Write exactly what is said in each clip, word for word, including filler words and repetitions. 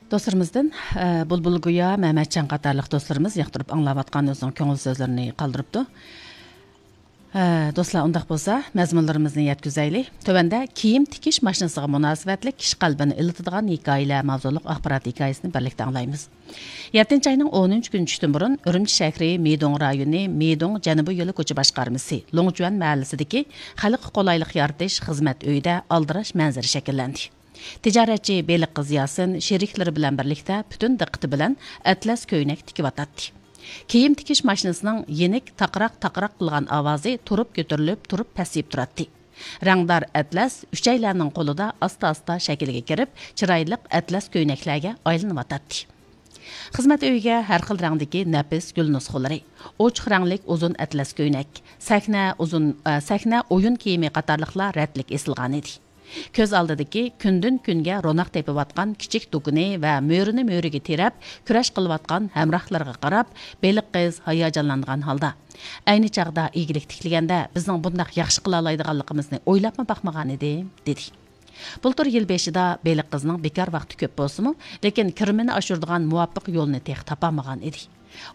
دوستلىرىمىزدىن، ئە، بۇلبۇل گويا، مەمەتجان قاتارلىق دوستلىرىمىز ياقتۇرۇپ ئاڭلاۋاتقان ئۆزىنىڭ كۆڭۈل سۆزلىرىنى قالدۇرۇپتۇ. ئە، دوستلار، ئۇنداق بولسا، مەزمۇنلىرىمىزنى يەتكۈزەيلى. تۆۋەندە كىيىم تىكىش ماشىنىسىغا مۇناسىۋەتلىك كىشى قەلبىنى ئىللىتىدىغان ھېكايىلەر ماۋزۇلۇق ئاخبارات ھېكايىسىنى بىرلىكتە ئاڭلايمىز. يەتتىنچى ئاينىڭ ئونىنچى كۈنى چۈشتىن بۇرۇن ئۈرۈمچى شەھىرى مىدۇڭ رايونى مىدۇڭ جەنۇبىي يولى كوچا باشقارمىسى لوڭجۈەن مەھەللىسىدىكى خەلققە قولايلىق يارىتىش خىزمەت ئۆيىدە ئالدىراش مەنزىرە شەكىللەندى. تىجارەتچى بېلىق قىز ياسىن شېرىكلىرى بىلەن بىرلىكتە پۈتۈن دىققىتى بىلەن ئەتلەس كۆينەك تىكىۋاتاتتى. كىيىم تىكىش ماشىنىسىنىڭ يېنىك تاقراق-تاقراق قىلغان ئاۋازى تۇرۇپ كۆتۈرۈلۈپ، تۇرۇپ پەسىيىپ تۇراتتى. رەڭدار ئەتلەس ئۈچەيلەننىڭ قولىدا ئاستا-ئاستا شەكىلگە كىرىپ، چىرايلىق ئەتلەس كۆينەكلەرگە ئايلىنىۋاتاتتى. خىزمەت ئۆيىگە ھەر خىل رەڭدىكى نەپىس گۈل نۇسخىلىرى، ئوچۇق رەڭلىك ئۇزۇن ئەتلەس كۆينەك، سەھنە، ئۇزۇن، ئە، سەھنە ئويۇن كىيىمى قاتارلىقلار رەتلىك ئېسىلغانىدى. كۆز ئالدىدىكى كۈندىن-كۈنگە روناق تېپىۋاتقان كىچىك دۇكىنى ۋە مۈرىنى مۈرىگە تىرەپ كۈرەش قىلىۋاتقان ھەمراھلىرىغا قاراپ، بېلىق قىز ھاياجانلانغان ھالدا، «ئەينى چاغدا ئىگىلىك تىكلىگەندە، بىزنىڭ بۇنداق ياخشى قىلالايدىغانلىقىمىزنى ئويلاپمۇ باقمىغانىدىم» دېدى. بۇلتۇر يىل بېشىدا بېلىق قىزنىڭ بىكار ۋاقتى كۆپ بولسىمۇ، لېكىن كىرىمىنى ئاشۇرىدىغان مۇۋاپىق يولنى تېخى تاپالمىغان ئىدى.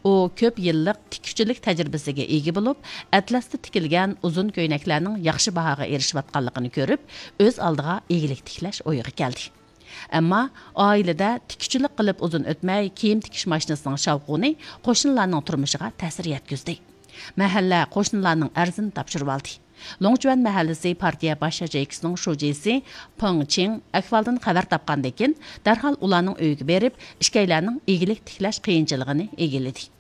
ئۇ كۆپ يىللىق تىككۈچىلىك تەجرىبىسىگە ئىگە بولۇپ، ئەتلەستە تىكىلگەن ئۇزۇن كۆينەكلەرنىڭ ياخشى باھاغا ئېرىشىۋاتقانلىقىنى كۆرۈپ، ئۆز ئالدىغا ئىگىلىك تىكلەش ئويىغا كەلدى. ئەمما ئائىلىدە تىككۈچىلىك قىلىپ ئۇزۇن ئۆتمەي، كىيىم تىكىش ماشىنىسىنىڭ شاۋقۇنى قوشنىلارنىڭ تۇرمۇشىغا تەسىر يەتكۈزدى. مەھەللە قوشنىلارنىڭ ئەرزىنى تاپشۇرۇۋالدى. لوڭجۈەن مەھەللىسى پارتىيە باش ياچېيكىسىنىڭ شۇجىسى پېڭ چىڭ ئەھۋالدىن خەۋەر تاپقاندىن كېيىن، دەرھال ئۇلارنىڭ ئۆيىگە بېرىپ، ئىككىيلەننىڭ ئىگىلىك تىكلەش قىيىنچىلىقىنى ئىگىلىدى.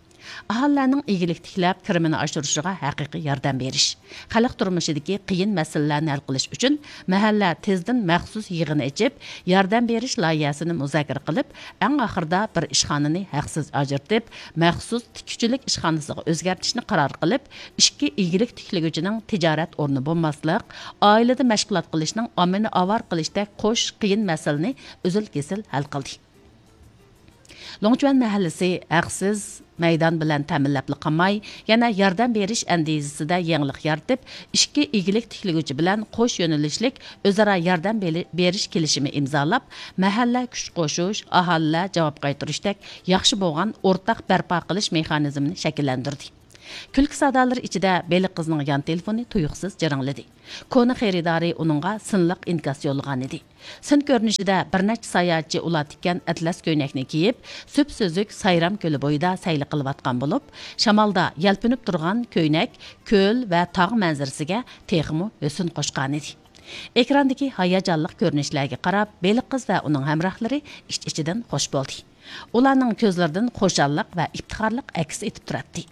ئاھالىلەرنىڭ ئىگىلىك تىكلەپ، كىرىمىنى ئاشۇرۇشىغا ھەقىقىي ياردەم بېرىش، خەلق تۇرمۇشىدىكى قىيىن مەسىلىلەرنى ھەل قىلىش ئۈچۈن مەھەللە تېزدىن مەخسۇس يىغىن ئېچىپ، ياردەم بېرىش لايىھەسىنى مۇزاكىرە قىلىپ، ئەڭ ئاخىرىدا بىر ئىشخانىنى ھەقسىز ئاجرىتىپ، مەخسۇس تىككۈچىلىك ئىشخانىسىغا ئۆزگەرتىشنى قارار قىلىپ، ئىككى ئىگىلىك تىكلىگۈچىنىڭ تىجارەت ئورنى بولماسلىق، ئائىلىدە مەشغۇلات قىلىشنىڭ ئاممىنى ئاۋارە قىلىشتەك قوش قىيىن مەسىلىنى ئۈزۈل-كېسىل ھەل قىلدى. لوڭچۈەن مەھەللىسى ھەقسىز مەيدان بىلەن تەمىنلەپلا قالماي، يەنە ياردەم بېرىش ئەندىزىسىدە يېڭىلىق يارىتىپ، ئىككى ئىگىلىك تىكلىگۈچى بىلەن قوش يۆنىلىشلىك ئۆزئارا ياردەم بېلى-، بېرىش كېلىشىمى ئىمزالاپ، مەھەللە كۈچ قوشۇش، ئاھالىلەر جاۋاب قايتۇرۇشتەك ياخشى بولغان ئورتاق بەرپا قىلىش مېخانىزمىنى شەكىللەندۈردى. كۈلكە سادالىرى ئىچىدە بېلىق قىزنىڭ يان تېلېفونى تۇيۇقسىز جىرىڭلىدى. كونا خېرىدارى ئۇنىڭغا سىنلىق ئىنكاس يوللىغانىدى. سىن كۆرۈنۈشىدە بىر نەچچە ساياھەتچى ئۇلار تىككەن ئەتلەس كۆينەكنى كىيىپ، سۈپسۈزۈك سايرام كۆلى بويىدا سەيلە قىلىۋاتقان بولۇپ، شامالدا يەلپۈنۈپ تۇرغان كۆينەك كۆل ۋە تاغ مەنزىرىسىگە تېخىمۇ ھۆسن قوشقانىدى. ئېكراندىكى ھاياجانلىق كۆرۈنۈشلەرگە قاراپ، بېلىق قىز ۋە ئۇنىڭ ھەمراھلىرى ئىچ-ئىچىدىن خوش بولدى. ئۇلارنىڭ كۆزلىرىدىن خۇشاللىق ۋە ئىپتىخارلىق ئەكس ئېتىپ تۇراتتى.